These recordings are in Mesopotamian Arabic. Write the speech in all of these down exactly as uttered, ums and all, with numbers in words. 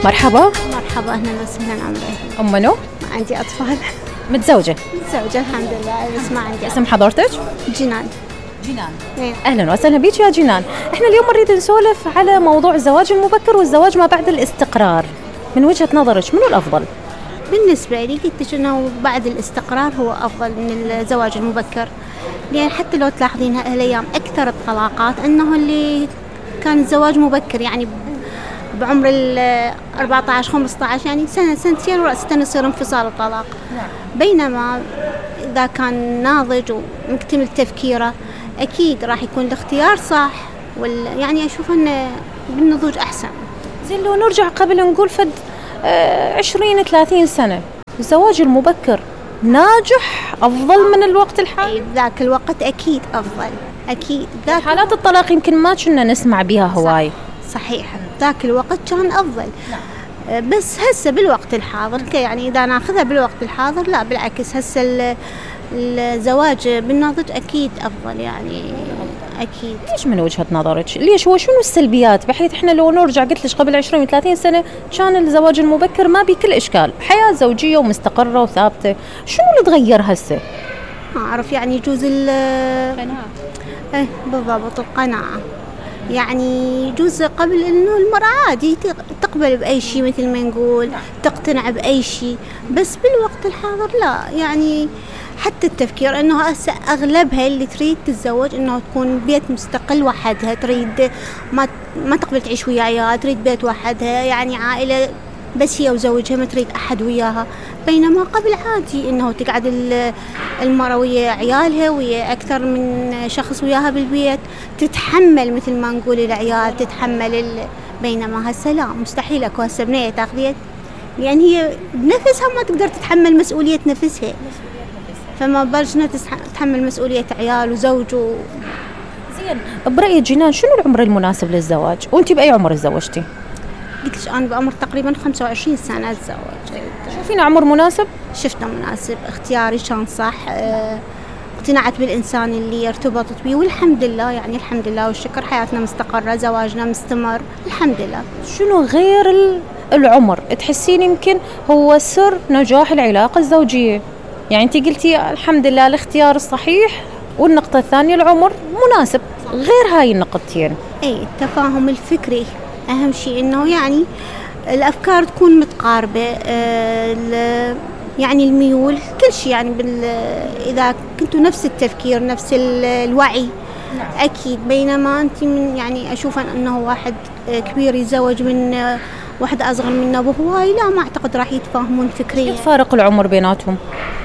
مرحبا. مرحبا، اهلا وسهلا. عمري ام منو؟ ما عندي اطفال. متزوجه؟ متزوجه الحمد لله، بس ما عندي. اسم حضرتك؟ جنان. جنان. إيه. اهلا وسهلا بيك يا جنان. احنا اليوم نريد نسولف على موضوع الزواج المبكر والزواج ما بعد الاستقرار. من وجهة نظرك منو الافضل؟ بالنسبه لي قلت لك انه بعد الاستقرار هو افضل من الزواج المبكر، لان حتى لو تلاحظين هالايام اكثر الطلاقات انه اللي كان الزواج مبكر، يعني بعمر ال أربعة عشر خمسة عشر، يعني سنه سنتين ورأسا يصير انفصال وطلاق. بينما اذا كان ناضج ومكتمل تفكيره اكيد راح يكون الاختيار صح، وال يعني اشوف انه بالنضوج احسن. زين لو نرجع قبل نقول فد آه عشرين ثلاثين سنة، الزواج المبكر ناجح أفضل من الوقت الحالي؟ أي بذاك الوقت أكيد أفضل، أكيد. ذاك حالات الطلاق يمكن ما كنا نسمع بها هواي. صحيح، ذاك الوقت كان أفضل. نعم. بس هسه بالوقت الحاضر يعني إذا ناخذها بالوقت الحاضر لا بالعكس، هسه الزواج بالنضج أكيد أفضل يعني أكيد. ليش من وجهة نظرك؟ ليش؟ هو شنو السلبيات؟ بحيث إحنا لو نرجع قلت لك قبل عشرين ثلاثين سنة كان الزواج المبكر ما بكل إشكال، حياة زوجية ومستقرة وثابتة. شنو اللي تغير هسه؟ ما أعرف، يعني يجوز القناعة. إيه بالضبط، القناعة. يعني يجوز قبل إنه المرأة عادي تقبل بأي شيء مثل ما نقول، تقتنع بأي شيء، بس بالوقت الحاضر لا. يعني حتى التفكير انه هسه اغلبها اللي تريد تتزوج انه تكون بيت مستقل وحدها، تريد ما ما تقبل تعيش ويا عيال، تريد بيت وحدها، يعني عائله بس هي وزوجها، ما تريد احد وياها. بينما قبل عادي انه تقعد المراه ويا عيالها ويا اكثر من شخص وياها بالبيت، تتحمل مثل ما نقول العيال، تتحمل ال... بينما هسه لا، مستحيل اكو هسه بنيه تاخذيها، لان هي بنفسها ما تقدر تتحمل مسؤوليه نفسها، فما بالك تتحمل مسؤولية عيال وزوج و... زين، برأيك جنان شنو العمر المناسب للزواج؟ وانت بأي عمر تزوجتي؟ قلت لك أنا بعمر تقريبا خمسة وعشرين سنة أتزوج. شوفين عمر مناسب؟ شفته مناسب، اختياري كان صح، اه اقتنعت بالإنسان اللي ارتبطت به، والحمد لله يعني الحمد لله والشكر، حياتنا مستقرة، زواجنا مستمر الحمد لله. شنو غير العمر تحسين يمكن هو سر نجاح العلاقة الزوجية؟ يعني انت قلتي الحمد لله الاختيار الصحيح، والنقطة الثانية العمر مناسب، غير هاي النقطتين اي التفاهم الفكري اهم شيء، انه يعني الافكار تكون متقاربة، اه يعني الميول كل شيء، يعني بال اذا كنتوا نفس التفكير نفس الوعي اكيد. بينما انت من يعني اشوف انه واحد كبير يتزوج من واحدة أصغر منه بهواي، لا ما أعتقد راح يتفاهمون فكريا. فارق العمر بيناتهم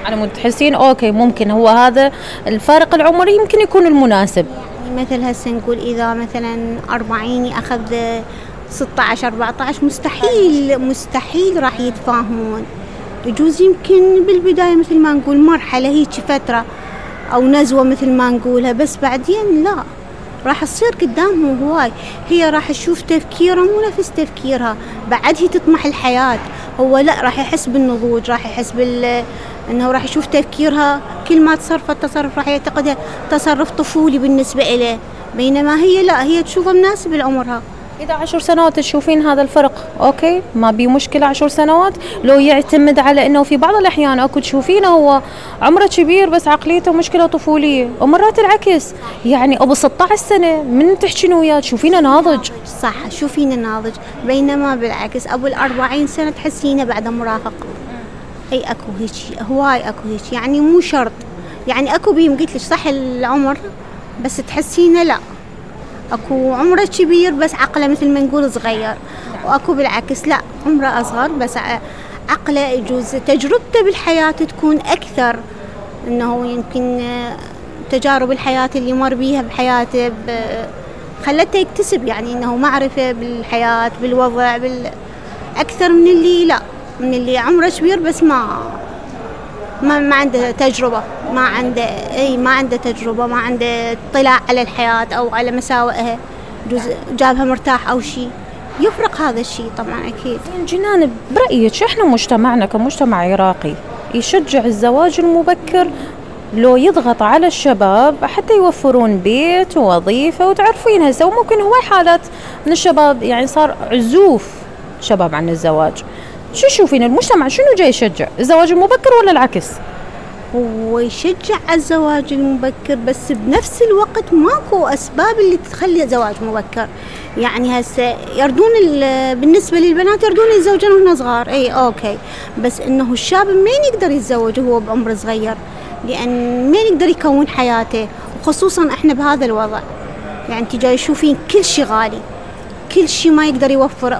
على مود تحسين أوكي ممكن هو هذا الفارق العمري يمكن يكون المناسب. يعني مثل هسه نقول إذا مثلا أربعين أخذ ستة عشر أربعة عشر، مستحيل مستحيل راح يتفاهمون. يجوز يمكن بالبداية مثل ما نقول مرحلة هيك فترة أو نزوة مثل ما نقولها، بس بعدين لا، راح تصير قدامهم هواي. هي راح تشوف تفكيره مو نفس تفكيرها، بعد هي تطمح الحياة، هو لا راح يحس بالنضوج، راح يحس بال انه راح يشوف تفكيرها كل ما تصرفت تصرف راح يعتقدها تصرف طفولي بالنسبة إليه، بينما هي لا، هي تشوفه مناسب لعمرها. إذا عشر سنوات تشوفين هذا الفرق أوكي ما بي مشكلة، عشر سنوات لو يعتمد على إنه في بعض الأحيان أكو تشوفينه هو عمره كبير بس عقليته مشكلة طفولية، ومرات العكس، يعني أبو ستة عشر سنة من تحكين وياه تشوفينه ناضج. صح، شوفينه ناضج، بينما بالعكس أبو الأربعين سنة تحسينه بعد مراهق. أي أكو هيك هواي أكو هيك، يعني مو شرط، يعني أكو بيم قلت لك صح العمر بس تحسينه لا، اكو عمره كبير بس عقله مثل ما نقول صغير، واكو بالعكس لا عمره اصغر بس عقله يجوز تجربته بالحياه تكون اكثر، انه يمكن تجارب الحياه اللي مر بيها بحياته خلته يكتسب يعني انه معرفه بالحياه بالوضع بال اكثر من اللي لا، من اللي عمره كبير بس ما ما, ما عنده تجربة، ما عنده أي ما عنده تجربة، ما عنده اطلاع على الحياة أو على مساوئها، جابها مرتاح أو شيء، يفرق هذا الشيء طبعا أكيد. جنان برأيك إحنا مجتمعنا كمجتمع عراقي يشجع الزواج المبكر لو يضغط على الشباب حتى يوفرون بيت ووظيفة، وتعرفين هسه وممكن هواي حالات من الشباب يعني صار عزوف شباب عن الزواج. شو تشوفين المجتمع شنو جاي يشجع الزواج المبكر ولا العكس؟ ويشجع على الزواج المبكر، بس بنفس الوقت ماكو أسباب اللي تخلي زواج مبكر. يعني هسه يردون بالنسبة للبنات يردون يتزوجون وهن صغار، اي اوكي، بس انه الشاب مين يقدر يتزوج وهو بعمر صغير؟ لأن مين يقدر يكون حياته، وخصوصا احنا بهذا الوضع. يعني تجي تشوفين كل شيء غالي، كل شيء ما يقدر يوفر،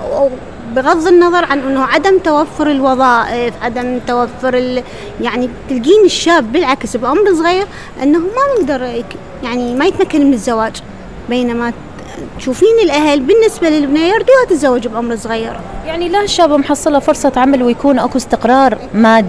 بغض النظر عن انه عدم توفر الوظائف، عدم توفر ال... يعني تلقين الشاب بالعكس بعمر صغير انه ما يقدر يعني ما يتمكن من الزواج، بينما تشوفين الاهل بالنسبه للبنيه يردوها تتزوج بعمر صغير. يعني لا الشاب محصله فرصه عمل ويكون اكو استقرار مادي